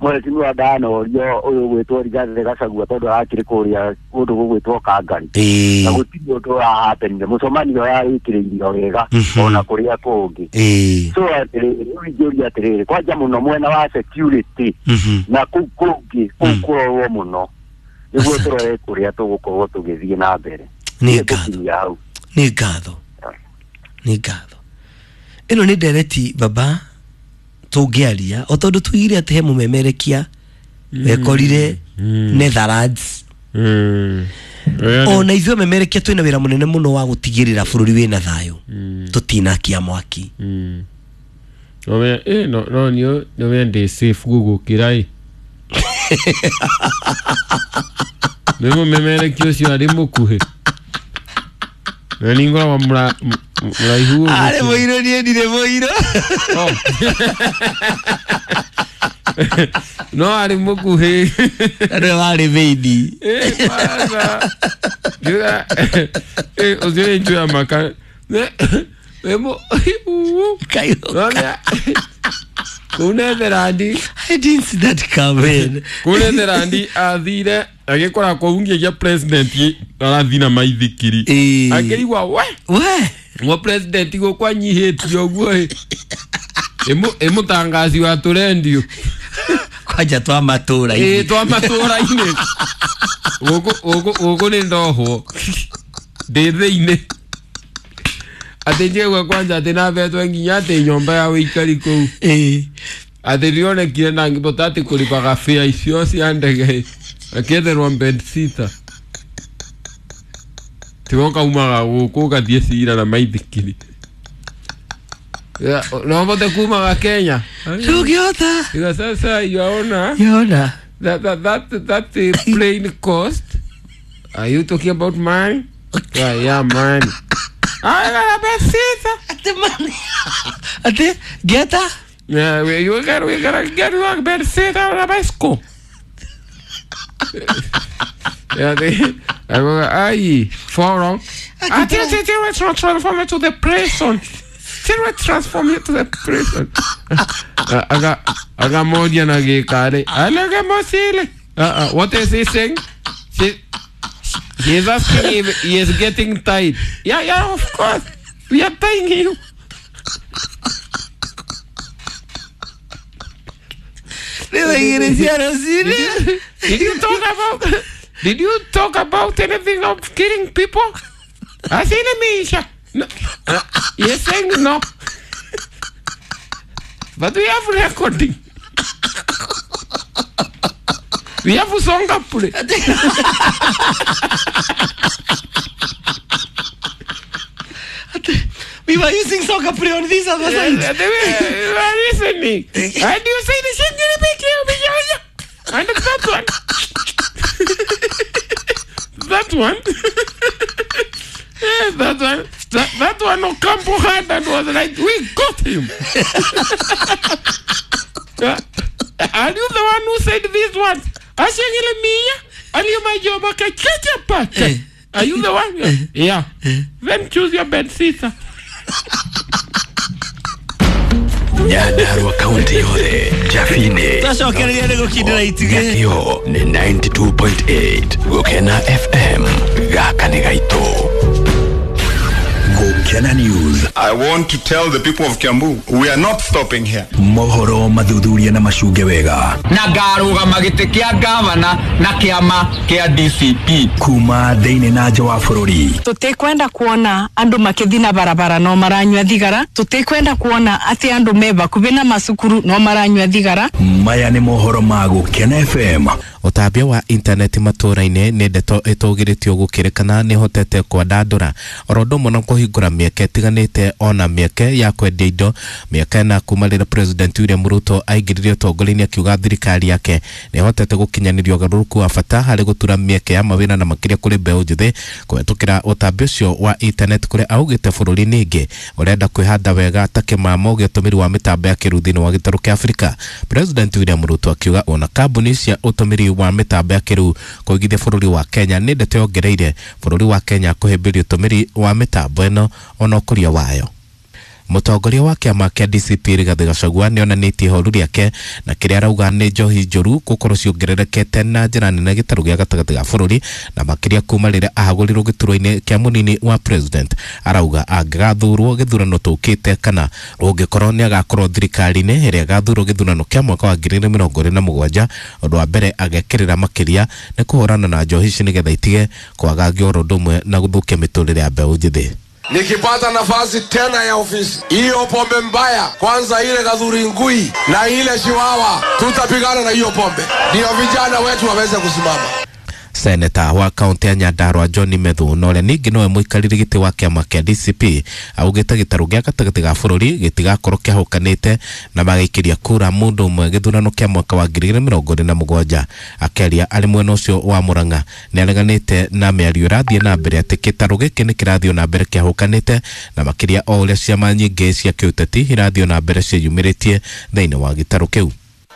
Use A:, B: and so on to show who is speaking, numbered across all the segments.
A: Mheshimiwa ndanorio uyu gwitwo Rigathi Gachagua tondu arakiri kuria kundu gugwitwo Kangari na gutiri undu wahapenire mucemanio yarikiriirio wega ona kuria kungi. So atiriri ingĩũria atiriri kwanja muno mwena wa security na kuu kungi kuu kurorwo muno niguo turore kuria tugukorwo tugithie na mbere.
B: Ni ngatho, ni ngatho, ni ngatho. Ino ni ndereti baba tũngĩaria o tondũ tuigire atĩ he mũmemerekia wekorire Netherlands. Ona ithuĩ memerekia twĩna wĩra mũnene mũno wa gũtigĩrĩra bũrũri wĩna thayũ, tũtinakia mwaki.
C: No no no ndĩ safe gũgũkĩra ĩ. Nĩ mũmemerekia ũcio arĩ mũkuhĩ na ningora mraihu
B: arĩ mũirũ, niĩ ndirĩ mũirũ.
C: No arĩ mũkuhĩ
B: na warĩ thĩini.
C: Ũcio nĩ njũya maka kũu Netherlands.
B: I didn't see that coming.
C: Kũu Netherlands athire agĩkora kũu nginya president arathiĩ na maithikiri akĩigua we we president gũkũ anyihĩtio ũguo ĩ mũtangaci wa tũrendio
B: kwanja twa matũra-inĩ.
C: Twa matũra-inĩ gũkũ nĩ ndohwo ndĩ thĩinĩ atĩ njigua kwanja atĩ nabetwe nginya atĩ nyũmba ya wĩikari kũu atĩ rionekire na ngĩbota atĩ kũrĩbaga bĩa icio cia ndege akĩetherwo bedsitter tigo kaumaga gũkũ ũgathiĩ cira na maithikiri no bote kumaga Kenya
B: tũngĩhota.
C: Iga sasa yaona
B: yaona
C: that plane cost. Are you talking about mine? Yeah, mine. I got a bedsitter.
B: Ate money. Ate geta.
C: Yeah, we gotta get you a bedsitter on a bicycle. Yeah, they I forum. I didn't transform it to the prison. Transform it to the prison. Aga moja na gikare. Alaga mosile. What is he saying? He is asking if he is getting tied. Yeah, of course. We are tying you. Did you talk about anything of killing people? I said, no. You're saying no. But we have recording. We have a song up.
B: We were using song up on this other side.
C: They were listening. And you say the shit and that one. That one. Yeah, that one. That one Ocampo had and was like, we got him. Are you the one who said this one? Are you the one? Yeah. Then choose your bed sister.
D: Nyandarua County yothe Jafine
B: twacokereria nĩ gũkindĩra itugĩ
D: Nyakĩo nĩ 92.8 Gũkena FM gaka nĩ gaitũ. Gũkena News.
E: I want to tell the people of Kiambu, we are not stopping here.
D: Mohoro mathuthuria na macunge wega.
F: Na ngarũgama gĩtĩ kĩa gavana na kĩama kĩa DCP.
D: Kuma thĩinĩ na nja wa bũrũri.
G: Tũtikwenda kuona andũ makĩthi na barabara no maranyua thigara. Tũtikwenda kuona atĩ andũ me bakubi na macukuru no maranyua thigara.
D: Maya nĩ mohoro ma Gũkena FM.
H: Ũtambia wa intaneti matũra-inĩ nĩ ndeto ĩtũgĩrĩtio gũkĩrĩkana nĩ hotete kwandandũra oro ũndũ ũmwe na kũhingũra mĩeke ĩtiganĩte ona mĩeke ya kwendia indo mĩaka ĩna kuma rĩrĩa President William Ruto aingĩrire ũtongoria-inĩ akiuga thirikari yake nĩ ĩhotete gũkinyanĩria ũgarũrũku wa bata harĩ gũtura mĩeke ya mawĩra na makĩria kũrĩ mbeũ njĩthĩ kũhetũkĩra ũtambia ũcio wa intaneti kũrĩa augĩte bũrũri-inĩ ĩngĩ ũrenda kwĩhanda wega ta kĩmamo gĩa ũtũmĩri wa mĩtambo ya kĩrĩu thĩinĩ wa gĩtarũ kĩa Afrika. President William Ruto akiuga ona kambuni cia ũtũmĩri wa mĩtambo ya kĩrĩu kũigithia bũrũri wa Kenya nĩ ndeto yongereire bũrũri wa Kenya kũhĩmbĩria ũtũmĩri wa mĩtambo ĩno ona ũkũria wayo. Mũtongoria wa kĩama kĩa DCP Rigathĩ Gachagua nĩonanĩtie ihoru rĩake na kĩrĩa arauga nĩ njohi njũru gũkorwo ciongererekete na njĩra nene gĩtarũ gĩa gatagatĩ ga bũrũri, na makĩria kuma rĩrĩa ahagũrirwo gĩturwa-inĩ kĩa mũnini wa president. Arauga angĩgathurwo gĩthurano tũkĩte kana ũngĩkorwo nĩ agakorwo thirikari-inĩ ĩrĩa ĩgathurwo gĩthurano kĩa mwaka wa 2027, ũndũ wa mbere agekĩrĩra makĩria nĩ kũhũrana na njohi ici nĩgetha itige kwagagio oro ũndũ ũmwe na gũthũkia mĩtũrĩre ya mbeũ njĩthĩ.
I: Nikipata nafasi tena ya ofisi hiyo, pombe mbaya kwanza, ile Gathuri Ngui na ile Chiwawa, tutapigana na hiyo pombe ndio vijana wetu waweze kusimama.
H: Seneta wa kaunti ya Nyandarua John Methu na ũrĩa ningĩ nowe mũikarĩri gĩtĩ wa kĩama kĩa DCP augĩte gĩtarũ gĩa gatagatĩ ga bũrũri gĩtigakorwo kĩahũkanĩte na magaikĩria kura mũndũ ũmwe gĩthurano kĩa mwaka wa 2027. Akĩaria arĩ mwena ũcio wa Murang'a nĩareganĩte na mĩario ĩrathiĩ na mbere atĩ gĩtarũ gĩkĩ nĩ kĩrathiĩ na mbere kĩahũkanĩte, na makĩria o ũrĩa ciama nyingĩ cia kĩũteti irathiĩ na mbere ciĩyumĩrĩtie thĩinĩ wa gĩtarũ kĩu.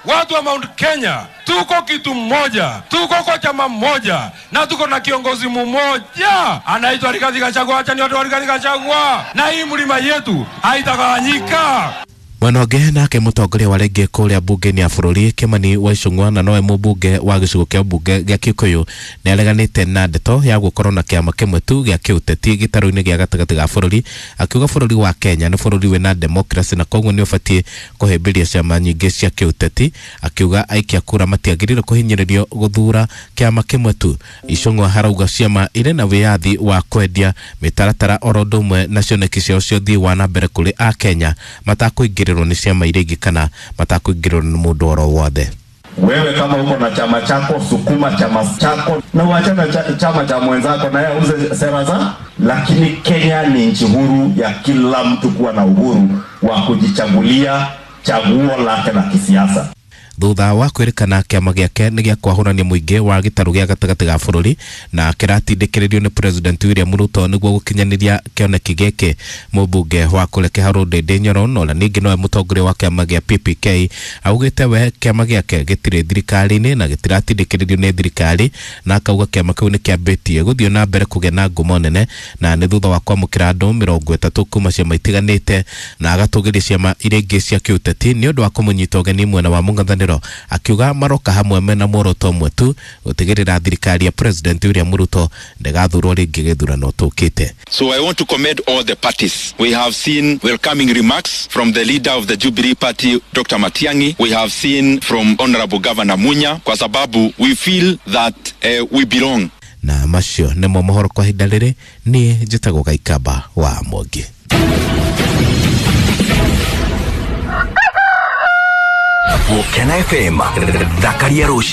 J: Watu wa Mount Kenya tuko kitu mmoja, tuko kwa chama mmoja na tuko na kiongozi mmoja anaitwa Rigathi Gachagua. Acha ni watu wa Rigathi Gachagua, na hii mlima yetu haitagawanyika.
H: Mwena ũngĩ nake mũtongoria wa rĩngĩ kũrĩa mbunge-inĩ ya bũrũri Kimani wa Ichung'wa na nowe mũmbunge wa gĩcigo kĩa mbunge gĩa Kikuyu nĩareganĩte na ndeto ya gũkorwo na kĩama kĩmwe tu gĩa kĩũteti gĩtarũ-inĩ gĩa gatagatĩ ga bũrũri, akiuga bũrũri wa Kenya nĩ bũrũri wĩna democracy na koguo nĩ ũbatiĩ kũhĩmbĩria ciama nyingĩ cia kĩũteti. Akiuga aikia kura matiagĩrĩirwo kũhinyĩrĩrio gũthura kĩama kĩmwe tu. Ichung'wa harauga ciama irĩ na wĩyathi wa kwendia mĩtaratara oro ũndũ ũmwe na cioneki ciao cia ũthii wa na mbere kũrĩ Akenya matakũingĩrĩrwo nĩ ciama iria ingĩ kana matakũingĩrĩrwo nĩ mũndũ oro wothe.
K: Wewe kama uko na chama chako, sukuma chama chako na uachane chama cha mwenzako na yeye auze sera za. Lakini Kenya ni nchi huru ya kila mtu kuwa na uhuru wa kujichagulia chaguo lake la kisiasa.
H: Thutha wa kwĩrĩkana kĩama gĩake nĩ gĩa kwahũrania mũingĩ wa gĩtarũ gĩa gatagatĩ ga bũrũri na kĩratindĩkĩrĩrio nĩ President William Ruto nĩguo gũkinyanĩria kĩoneki gĩkĩ, mũmbunge wa kũrĩa Kĩharũ Ndĩndĩ Nyoro na ũrĩa ningĩ nowe mũtongoria wa kĩama gĩa PPK augĩte we kĩama gĩake gĩtirĩ thirikari-inĩ na gĩtiratindĩkĩrĩrio nĩ thirikari, na akauga kĩama kĩu nĩ kĩambĩtie gũthiĩ na mbere kũgĩa na ngumo nene na nĩ thutha wa kwamũkĩra andũ 30 kuma ciama itiganĩte, na agatũgĩria ciama iria ingĩ cia kĩũteti nĩ ũndũ wa kũmũnyita ũgeni mwena wa mũng'ethanĩro, akiuga maroka hamwe mena muoroto ũmwe tu, gũtigĩrĩra thirikari ya President William Ruto ndĩgathurwo rĩngĩ gĩthurano tũkĩte.
E: So I want to commend all the parties. We have seen welcoming remarks from the leader of the Jubilee Party, Dr. Matiang'i. We have seen from Honorable Governor Munya, kwa sababu we feel that we belong.
H: Na macio nĩmo mohoro kwa ihinda rĩrĩ, niĩ njĩtagwo Gaikamba wa Mwangi.
D: Gũkena FM, thakaria rũciũ.